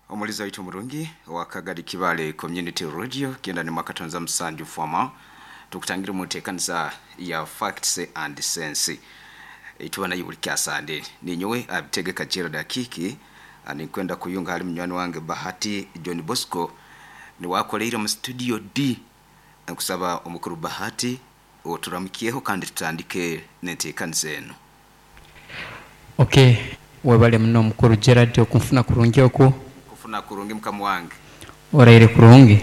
Omulizi waitu omurungi owa Kagadi Kibale Community Radio 97 Fwama, tukutangire omu nteekaniza ya Facts and Sense eituba nayo buli kyasande. Ninyowe Abitegeka Gerald Akiiki, ninkwenda kuyunga hali munywani wange Bahati John Bosco, niwe akoleire omu studio D. Nkusaba omukuru Bahati oturamukyeho kandi tutandike n'enteekaniza enu. Ok webale muno mukuru Gerald okunfuna kurungi oku. Nkufuna kurungi mukama wange. Oraire kurungi?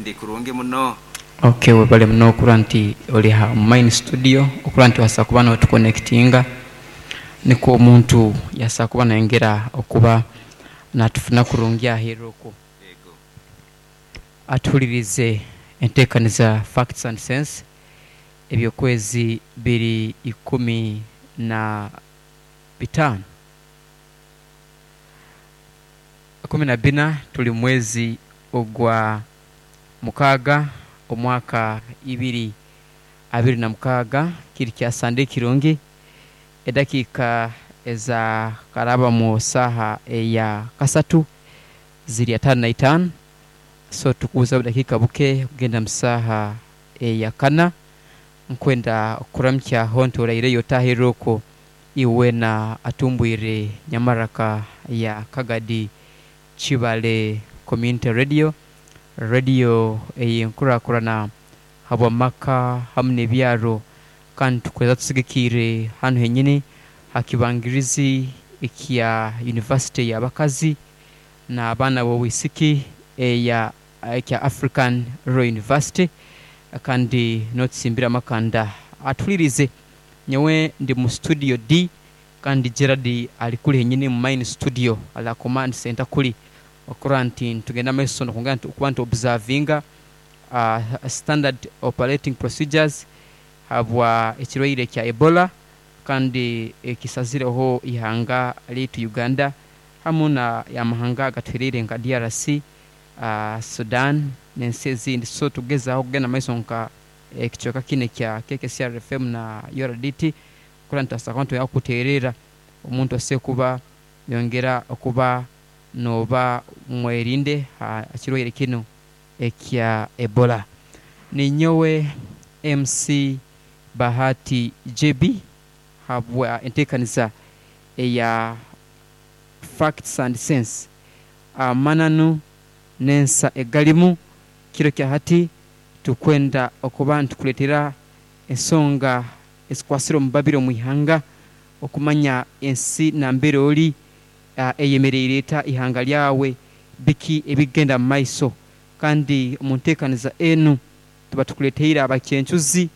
Ndi kurungi muno. Ok webale muno okuba nti ori aha main studio okuba nti wasobola kuba notukonekitinga nikwo omuntu yasobola kuba nayongera okuba natufuna kurungi aheru okwo. Ego. Atuhulirize entekaniza Facts and Sense ebyokwezi biri 15, 14 tuli mumwezi ogwa mukaaga omwaka 2026 kiri kya Sande kirungi edakiika eza karaba mu saaha eya kasatu ziri 55 so tukubuza obudakiika buke okugenda mu saaha eya kana. Nkwenda okukuramukya honti oraireyo otahirira okwo iwe weena atumbwire nyamaraka ya Kagadi Kibale Community Radio, Radio ey'enkurakurana habw'amaka hamu n'ebyaro kandi tukweza tusigikiire hanu henyini ha kibangirizi ekya University y'abakazi n'abaana b'obwisiki eya ekya African Rural University kandi n'otusimbira amakanda atuhulirize. Nyowe ndi mu studio D kandi Gerald ali kule henyini mu main studio ali aha command center kuli okurora nti nitugenda mu maiso n'okwongera okuba nti observinga standard operating procedures habwa ekirwaire kya Ebola kandi ekisazireho eihanga lyaitu Uganda hamu n'amahanga agatuhwereire nka DRC, Sudan n'ensi ezindi. So tugezaaho okugenda mu maiso nka ekicweka kinu ekya KKCR FM na URDT kurora nti tubaasa kuba nitweyongera kukuteererra omuntu asoboire kuba yongera okuba nooba mwerinde ha kirwaire kinu ekya Ebola. Ninyowe MC Bahati JB habwa enteekaniza eya Facts and Sense, Amananu n'ensa egalimu. Kiro kya hati tukwenda okuba nitukuleetera ensonga ezikwasire omu babiri omu ihanga okumanya ensi nambere ori eyemereire eta, ihanga lyawe biki ebikugenda mu maiso. Kandi omu nteekaniza enu tuba tukuleeteire abacencuzi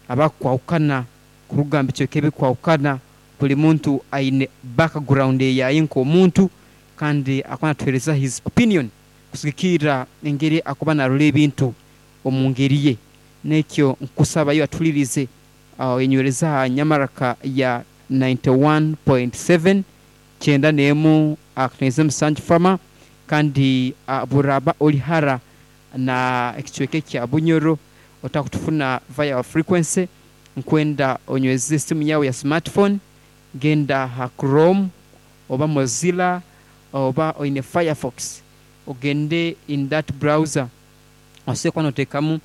abakwahukana kuruga mu bicweka ebikwahukana. Buli muntu aine background eyaye nk'omuntu kandi akuba natuheereza his opinion kusigikirra engeri akuba narora ebintu omu ngeri ye. N'ekyo nkusaba iwe atuhuliriize oyenywereze aha nyamaraka ya 91.7, 91.7 Fama, kandi bw'oraaba ori hara na ekicweka ekya Bunyoro otakutufuna via our frequency, nkwenda onyweze esimu yaawe ya smartphone, genda aha Chrome oba Mozilla oba oine Firefox ogende in that browser osobola kuba noteekamu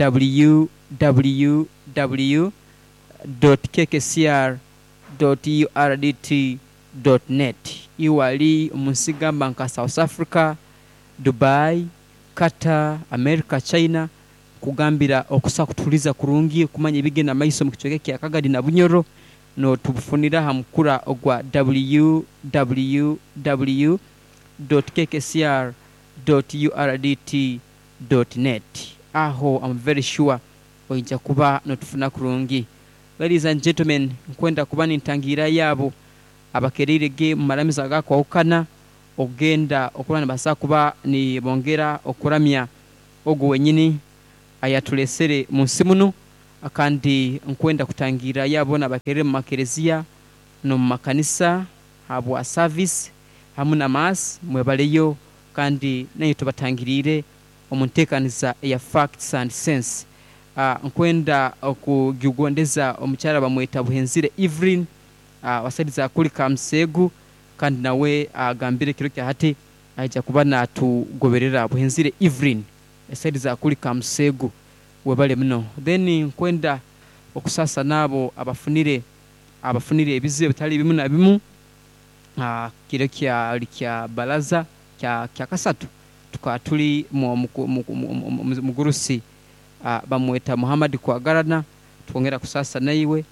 www dot kkcr dot urdt dot net. Iwe ali omu nsi gamba nka South Africa, Dubai, Qatar, America, China, nkugambira okusobola kutuhuliiriza kurungi okumanya ebigenda mu maiso omu kicweka ekya Kagadi na Bunyoro, notubufunira aha mukura ogwa www dot kkcr dot urdt dot net. Aho am very sure oija kuba notufuna kurungi. Ladies and gentlemen, nkwenda kuba nintangiirayo abo abakereire ge mu maramizo agakwahukana okugenda okuba nibasobola kuba nibongera okuramya ogu wenyini ayatulesere mu nsi munu. Kandi nkwenda kutangiirayo abo boona abakereire mu makereziya n'omu makanisa habwa service hamu na Mass, mwebaleyo kandi nainywe tubatangiriire omu nteekaniza eya Facts and Sense. Nkwenda okugigondeza omukyara bamweta Buhenzire Evelyn wa saidi za kuli Kamuseegu kandi nawe agambire ekiro kya hati. Aija kuba natugoberera Buhenzire Evelyn esayidi za kuli Kamuseegu, webale muno. Then nkwenda okusasa n'abo abafunire ebizibu ebitali bimu na bimu. Kiro kyali kya baraza kya kasatu tukaba tuli mugurusi bamweta Muhammad Kwagarana, twongera kusasa naiwe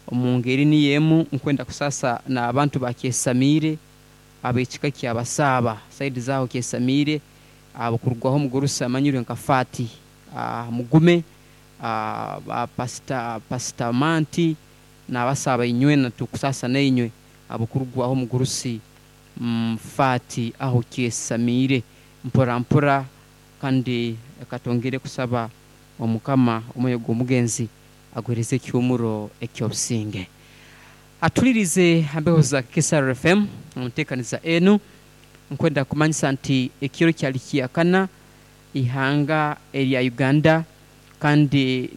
omu ngeri niyo emu. Nkwenda kusasa n'abantu bakyesamiire ab'ekika kyabasaaba saidi zaaho kyesamiire, abo kurugwaho omugurusi amanyirwe nka Fati Mugume, Pasita Manti n'abasaaba inywena tukusasa nainywe abo kurugwaho omugurusi Fati aho kyesamiire mpora mpora. Kandi katwongere kusaba omukama omwoyo gw'omugenzi aguhereze ekyumuro eky'obusinge. Atulirize hambeho za Kisaro FM omuteekaniza enu. Nkwenda kumanyisa nti ekiro kyali kyakana ihanga erya Uganda, kandi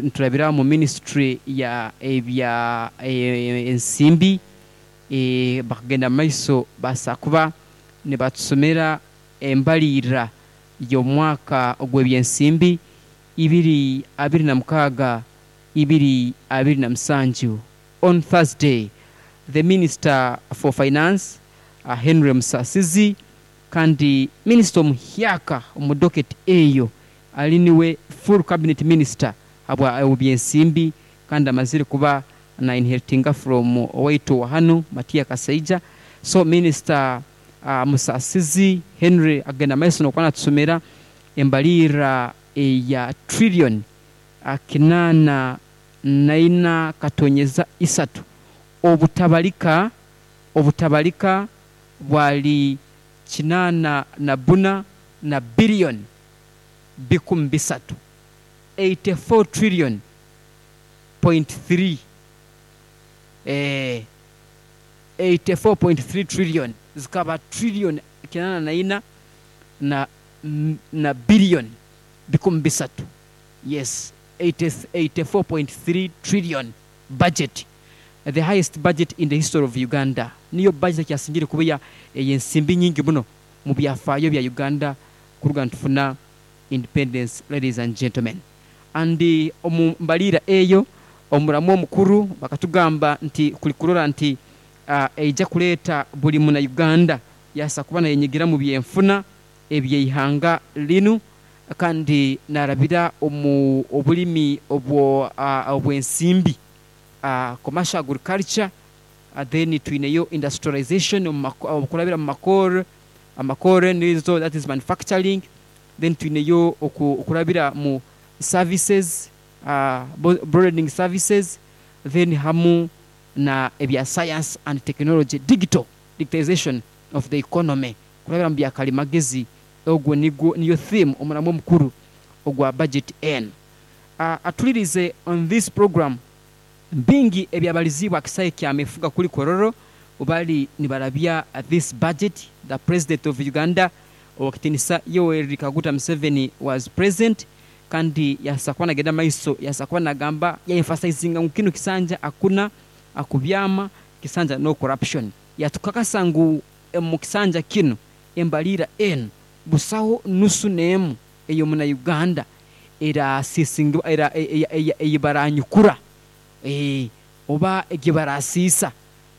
niturabira mu ministry ya ebya ensimbi, bakagenda maiso basa kuba nibatusomera embalirira y'omwaka ogw'ebyensimbi 2026 2027. On Thursday, the Minister for Finance, Henry Musasizi, kandi minisita omuhyaka omu docket eyo ali niwe full cabinet minister habwa ebyensimbi, kandi amazire kuba na inheritinga from owaitu wa hanu Matia Kasaija. So Minister Musasizi Henry agenda maiso nokuba natusomera embalirira eya trillion 84.3, obutabalika bwali 84 na billion 300, 84 trillion point 3, 84.3 trillion zikaba trillion 84 na billion 300. Yes, 84.3 trillion budget, the highest budget in the history of Uganda. Niyo budget kyasingire kuba ensimbi nyingi muno mu byafaayo bya Uganda kuruga ntufuna independence, ladies and gentlemen. And omu mbalira eyo omuramu omukuru bakatugamba nti kulikurora nti eija kuleeta buli muna Uganda yasa kuba nayenyigira mu byenfuna ebyeihanga linu, kandi narabira omu obulimi obwensimbi, commercial agriculture, then twineyo industrialization okurabira mu makore nizo, that is manufacturing. Then twineyo okurabira mu services, broadening services, then hamu na ebya science and technology, digitalization of the economy kurabira mu byakalimagezi. Ogwo niyo theme omuramu omukuru ogwa budget N. Atulirize on this program bingi ebyabalizibwa akisae kyamefuga kuli Kororo bali nibarabya this budget. The president of Uganda owakitinisa Yoweri Kaguta Museveni was present, kandi yasakuba nagenda maiso yasakuba nagamba ya emphasizinga ngu kino kisanja akuna akubyama kisanja no corruption. Yatukakasa ngu mu kisanja kino embalira N busaho nusu nemu eyo muna Uganda era sisinga era eyibaranyukura oba egibarasisa.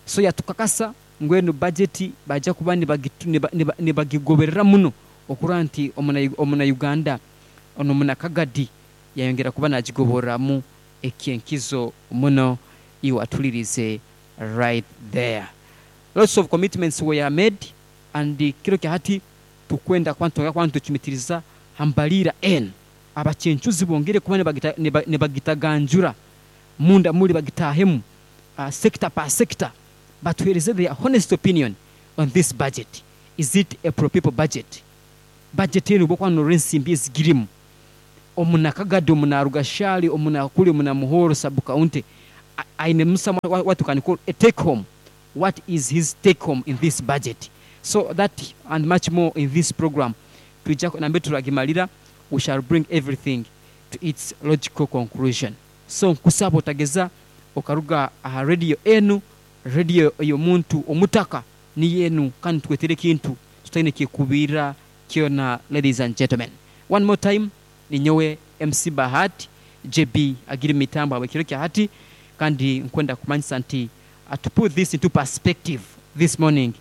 So yatukakasa ngwenu budget baja kuba nibagigoberera muno okura nti omuna Uganda ono muna Kagadi yayongera kuba nagigoboramu ekyenkizo muno. Iwe atulirize right there. Lots of commitments were made, and kiro kya hati tukwenda kwantu tukimitiriza hambalira N abachenchuzi bongere kuba nibagitaganjura munda muri bagitahemu, sector per sector, batuhereze their honest opinion on this budget. Is it a pro people budget? Budget enu bokwa rensimbi ezigirimu omuna Kagadi, omuna Rugashali, omuna kuli, omuna Muhoro sub county, aine musa what you can call a take home. What is his take home in this budget? So that and much more in this program. Tuija nambe turagimalira, we shall bring everything to its logical conclusion. So nkusaba otageza okaruga aha radio enu, radio eyo muntu omutaka ni yenu, kandi twetere kintu. Tutaine kyekubiira kyona ladies and gentlemen. One more time ninyowe MC Bahati JB agiri mumitambo habwekiro kya hati kandi nkwenda kukumanyisa nti to put this into perspective this morning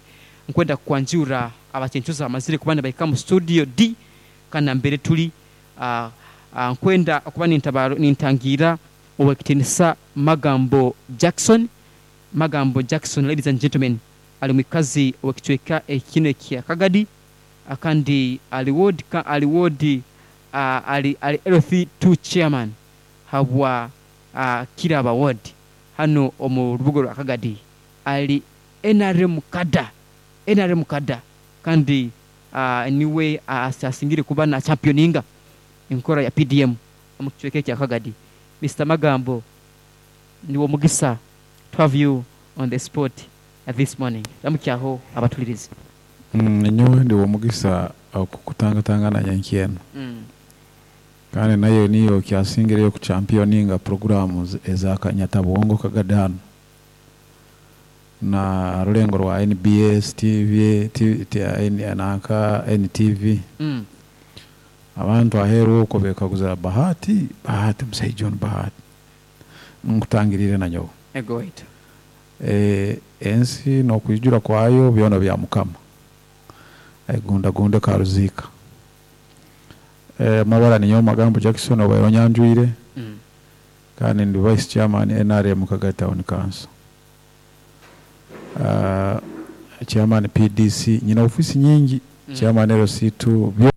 nkwenda kukwanjurra abacencuzi abamazire kuba nibahika mu studio D kandi nambere tuli nkwenda okuba nintangiira Owekitinisa Magambo Jackson Magambo Jackson ladies and gentlemen ali mwikazi owekicweka kinu ekya Kagadi kandi ali ward ali ward ali ali LC2 chairman habwa Kiraba ward hanu omu rubuga orwa Kagadi ali nrm kada nrm kada kandi niwe asingire kuba na championinga enkora ya PDM omu kicweka ekya Kagadi. Mister Magambo niwe omugisa to have you on the spot this morning. Ramukyaho abatulirizi. Nyowe ndi w'omugisa okukutangatangana nyenkya enu. Kandi nayo niyo kyasingireyo kuchampioninga puroguramu eza Kanyatabwongo Kagadi hanu na rulengo rwa NBS TV, nanka NTV. Abantu aheeru okwo bekaguza Bahati, Bahati musaija onu Bahati. Nkutangiriire nanyowe. Ego waitu. Ensi n'okwijura kwayo byona bya Mukama. Aigundagunda karuziika. Amabara ninyowe Magambo Jackson obaire onyanjwire kandi ndi Vice Chairman NRM Kagadi Town Council. Chairman PDC, nyine ofiisi nyingi, Chairman LC2, byona.